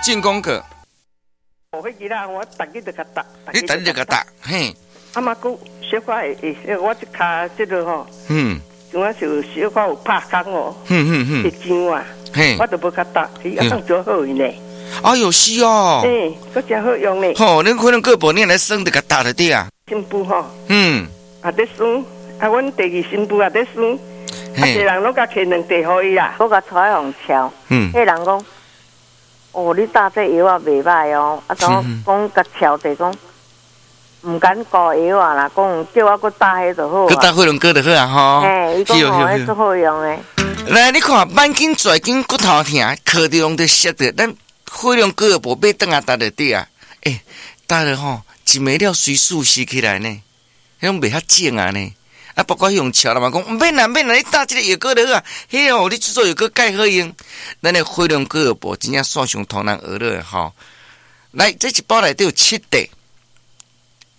進廣告。哦，彼日啊，我逐日就共貼。你逐日就共貼，嘿。啊嘛，閣小可會會，我這跤這个吼，像我是小可有拍空哦，會脹啊，我就無共貼，伊啊當做好用呢。哎喲，是哦。嘿，閣誠好用呢。吼，恁可能過半年來耍就共貼就對啊。新婦吼，也咧耍，啊，阮第二新婦也咧耍，啊，濟人攏共摕兩塊予伊啦。我共帶去予敲，彼人講，哦，你打這藥仔袂䆀哦，啊，怎講共敲者講，毋敢顧藥仔啦，講叫我閣打彼就好。閣打火龍果就好啊吼。嘿，伊講吼，彼足好用的。來，你看，挽緊跩緊骨頭疼，磕著攏著摔著，咱火龍果無買轉來貼就對啊。欸，貼了吼，一暝了隨舒適起來呢，彼種袂遐腫啊呢。啊，包括彼種敲啦嘛，講毋免啦，毋免啦，你打這个藥膏就好啊。彼哦，你這做藥膏蓋好用。咱的火龍果無真正線上通人學落吼。來，這一包內底有七塊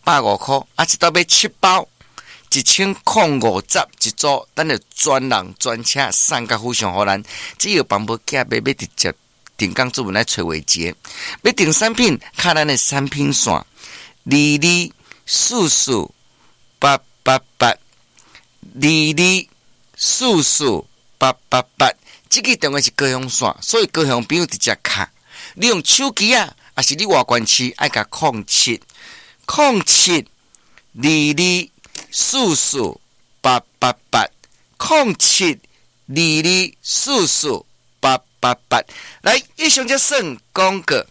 ，150塊，啊，這兜買七包，1050一組，咱就專人專車送到府上予咱。只要幫無寄買，欲直接定崗主文來揣偉傑。欲訂產品，敲咱的產品線2244888，2244888。這个電話是高雄線，所以高雄朋友直接敲。你用手機啊，抑是你外縣市愛共0707224488，072244 888。來，以上才算廣告。